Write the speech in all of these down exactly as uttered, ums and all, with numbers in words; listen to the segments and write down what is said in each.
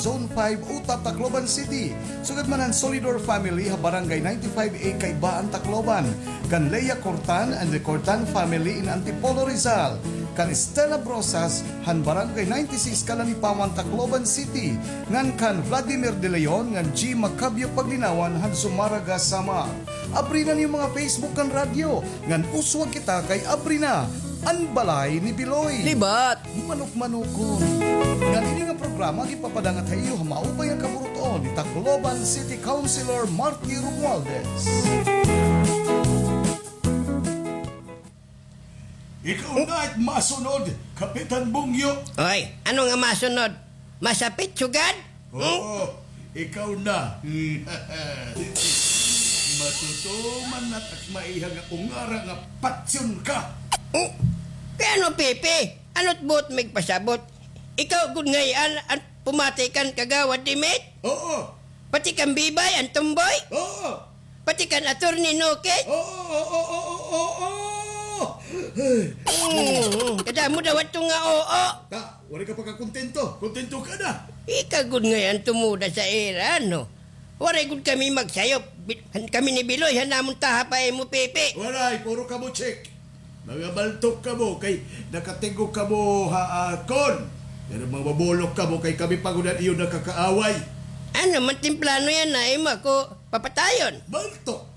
Zone five, Uta, Tacloban City. Sugad man han Solidor family ha Barangay ninety-five A, Kaibaan, Tacloban, kan Lea Cortan and the Cortan family in Antipolo, Rizal, kan Stella Brosas han Barangay ninety-six, Calanipaman, Tacloban City, ngan kan Vladimir De Leon ngan G Macabio Paglinawan han Zumarraga, Samar. Abri na an iyo mga Facebook ngan radyo, ngan uswag kita kay abri na an balay ni Biloy. Libat! Manok-manokon. Ngan ini nga programa ginpapadangat ha iyo ha maupay nga kaburuton ni Tacloban City Councilor Marty Romualdez. Ikaw na it masunod, Kapitan Bungyo. Oy, ano nga masunod? Masapit sugad? Oo, ikaw na. Matutuman na it ak maiha nga ungara nga patyon ka. Oh, kay ano, Pipi? Ano't buot mo igpasabot? Ikaw gud ngay-an an pumati kan Kagawad Dimit? Oo. Pati kan Bibay, an tumboy? Oo. Pati kan Attorney Nokit? Oo, oo, oo, oo, oo. Mm, kadamo daw adto nga oo. Ta, waray ka pagkakontento. Kontento ka na. Ika gud ngay-an tumuda sa ira, no? Waray gud kami magsayop. Bi-, kami ni Biloy, han amon taha pa imo, Pipi. Waray, puro kamo check. Mga baltok kamo kay nakatigok kamo ha akon. Pero mga mabulok kamo kay kami pa gud an iyo nakakaaway. Ano man timplano yana, imo ako papatayon? Baltok.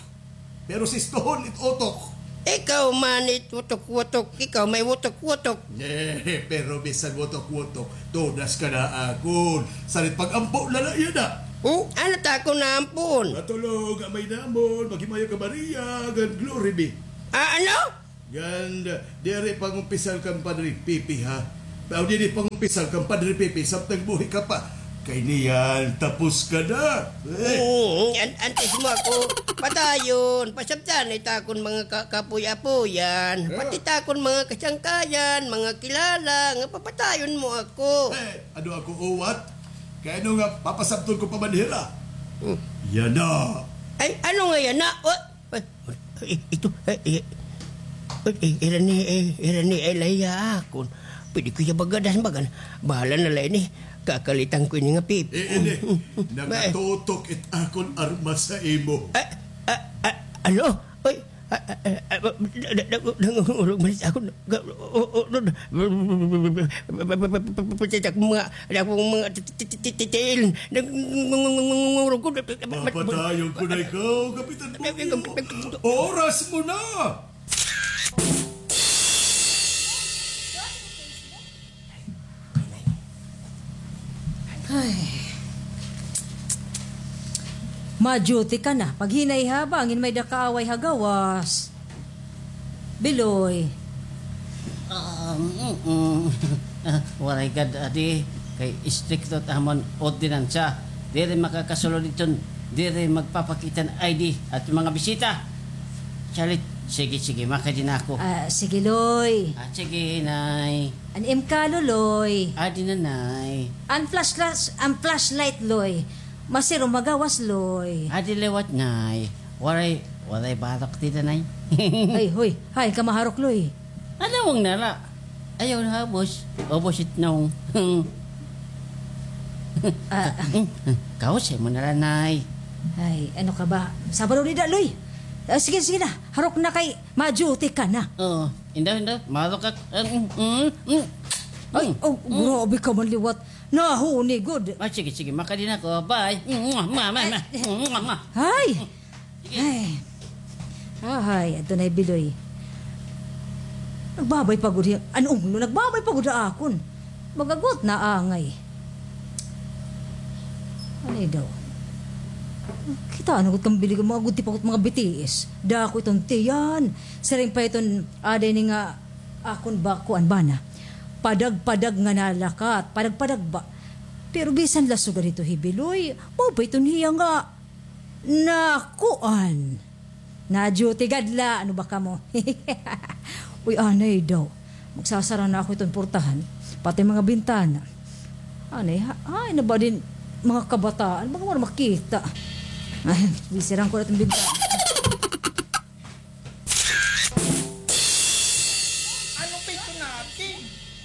Pero sistohon it utok. Ikaw man it wutok-wutok, ikaw may wutok-wutok. Eh, pero bisan wutok-wutok, tudas ka na akon. Sarit pag-ampo na la yana. Hmm? Ano ta akon naampuon? Matulog, amay namon, maghimaya ka Maria, ngan Glory be. Ah, ano? Ngan, diri pangumpisal kan Padre Pipi, ha? Aw, diri pangumpisal kan Padre Pipi, samtang buhi ka pa. Kay niyan, tapos ka na. Eh. Mm, an-, antes mo ako patayon, pasabtan it akon mga ka-, kapuy-apuyan, pati it akon mga kasangkayan, mga kilala, nga papatayon mo ako. Eh, ano ako, uwat? Kay ano nga, papasabton ko pa man hira? Hmm. Yana. Ay, ano nga yana? O, Ay, ay, ito, ay, ay, ay, ay, ira ni, ay, ira ni, ay, lahiya akon. Pwede ko iya bagadas, bagan. Bahala na la ini. Kakalitan ko ini nga Pipi. Eh, ini, nakatutok it akon armas ha imo. Ah, ah, ah, ano? Ay, ah, ah, ah, ah, da-, da-, da-, nangungurog man it akon. Ga-, o, o, o, pati ak mga, akon mga ti-, ti-, ti-, ti-, tiil. Nangungurog ko. Papatayon ko na ikaw, Kapitan Bugyo. Oras mo na! Ay. Ma-duty ka na. Paghinay ha, bangin may-ada kaaway ha gawas. Biloy. Ah, mm, mm. Ah, waray gad, adi. Kay istrikto it amon ordinansa. Diri makakasulod didton, diri magpapakita hin I D it mga bisita. Salit, sige, sige, makadi na ako. Ah, sige, Loy. Ah, sige, Nay. An im kalo, Loy. Adi na, Nay. An flashlight, an flashlight, Loy. Masiro magawas, Loy. Adi liwat, Nay. Waray, waray barok dida, Nay. Ay, hoy. Hain ka maharok, Loy? Alawang na la. Ayaw na, boss. O, boss, itnong. Ah. Kausay mo na la, Nay. Ay, ano ka ba? Sabado dida, Loy. Ah, sige, sige na. Harok na kay ma-duty ka na. Oo. Indaw, indaw. Marok ka. Mm, mm, mm. Ay, oh, grabe ka man liwat. Nahuni gud. Ah, sige, sige, makadi na ako. Bye. Mwah, mwah, mwah. Ay. Sige. Ay. Ahay, adto na hi Biloy. Nagbabay pa gud hi, an unglo, nagbabay pa gud ha akon. Mag-agwat na angay. Anay daw. Kitaa na gud kan Biloy, mga gudti pa gud mga bitiis. Dako iton tiyan. Siring pa iton aday ni nga akon ba, kuan ba na. Padag-padag nga nalakat. Padag-padag ba? Pero bisan la sugad hito hi Biloy, mao pa iton hiya nga nakuan. Na-duty gad la, ano ba kamo? Uy, anay daw. Magsasara na ako iton portahan, pati mga bintana. Anay, ha-, hain na ba din mga kabataan? Baka wala makita. Ay, sisiran ko na iton bintana. Ano pa ito natin?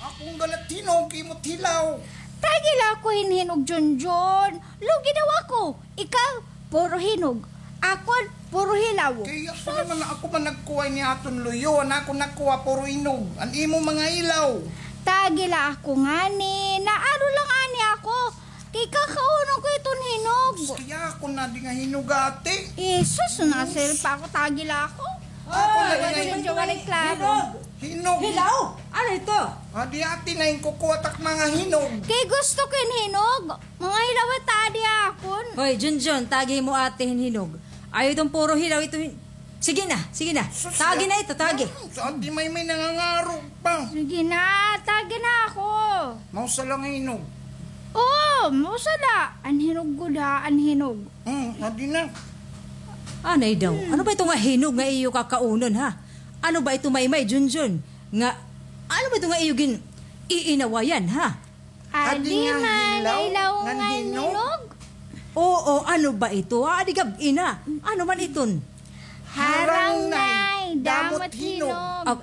Akong galat hinog, imo hilaw. Tagi la ako hin hinog, Junjun. Lugi daw ako. Ikaw, puro hinog. Akon, puro hilaw. Kay ako naman, ako man nagkuha ini aton luyo. An ako nakuha, puro hinog. An imo mga hilaw. Tagi la ako ngani. Naaro la ngani ako. Kay kakaunon ko iton hinog. Kay ako na di nga hinog, ate. Eh, sus, nasil pa ako. Tagi la ako. Ako na di nga hinog. Hinog. Hinog. Hilaw? Ano ito? Adi, ate, na hin kukuha tak mga hinog. Kay gusto ko hin hinog. Mga hilaw it adi akon. Hoy, Junjun, tagi mo ate hin hinog. Ayaw iton puro hilaw ito hin-, sige na, sige na. Sus, tagi na ito, tagi. Hmm, sa ate Maymay nangangarog pa. Sige na, tagi na ako. Mausa la nga hinog. Oo, mausa la. An hinog gud ha, an hinog. Hmm, adi na. Anay daw. Ano ba ito nga hinog nga iyo kakaunon, ha? Ano ba ito, Maymay, Junjun? Nga, ano ba ito nga iyo gin-iinawayan, ha? Adi nga hilaw ngan hinog? Oo, ano ba ito? Adi gab-i na. Ano man iton? Harang, Nay, damo it hinog. Ah,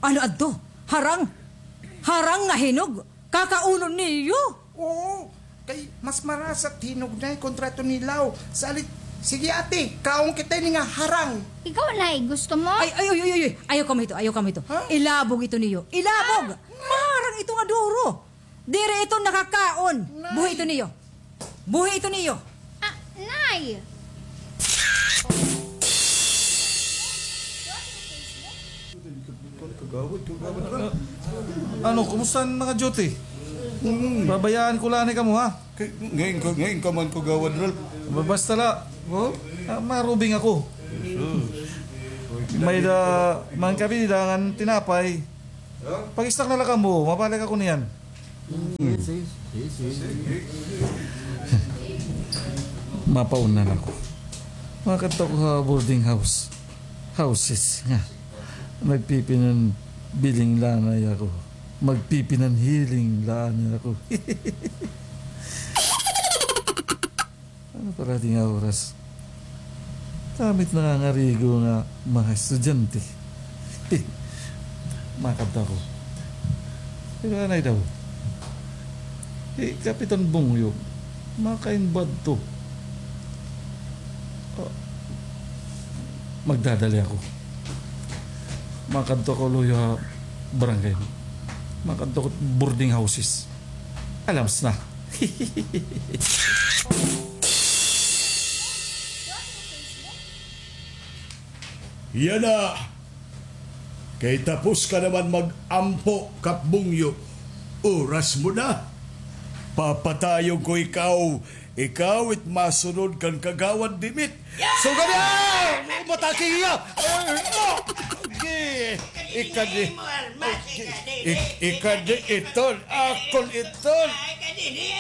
ano adto? Harang? Harang nga hinog? Kakaunon niyo? Oo, kay mas marasa it hinog, Nay, kontra iton hilaw. Salit, sige, ate, kaon kita ini nga harang. Ikaw, Nay, gusto mo? Ay, ay, ay, ay, ay, ayaw kamo hito, ayaw kamo hito. Ha? Ilabog ito niyo. Ilabog! Ah, maharang ito nga duro. Diri ito nakakaon. Nay. Buhi ito niyo. Buhi ito niyo. Ah, Nay! Ano, kumusta an mga duty? Mm. Babayaan ko la anay kamo, ha? Kay, ngayon ka, ngayon ka man, Kagawad Ralph. Ba-, basta la, oh, ah, marubing ako. May-ada man kami dida ngan tinapay. Pag-snack na la kamo, mabalik ako niyan. Mapauna na ako. Makadto ako ha boarding house. Houses nga. Magpipinanbiling la anay ako. Magpipinanhiling la anay ako. Ano pa la adi nga oras? Damo it nangangarigo nga mga estudyante. Makadto ako. Pero anay daw. Hi Kapitan Bungyo, makain ba adto? Ah, magdadali ako. Makadto ako luyo ha barangay. Makadto ako boarding houses. Alams na. Yana! Kay tapos ka naman mag-ampo, Kap Bungyo. Oras mo na. Papatayon ko ikaw. Ikaw it masunod kan Kagawad Dimit. So, gani, ah! Matake hiya! Ay, ah! Gi-, ikadi, ik-, ikadi iton, akon iton.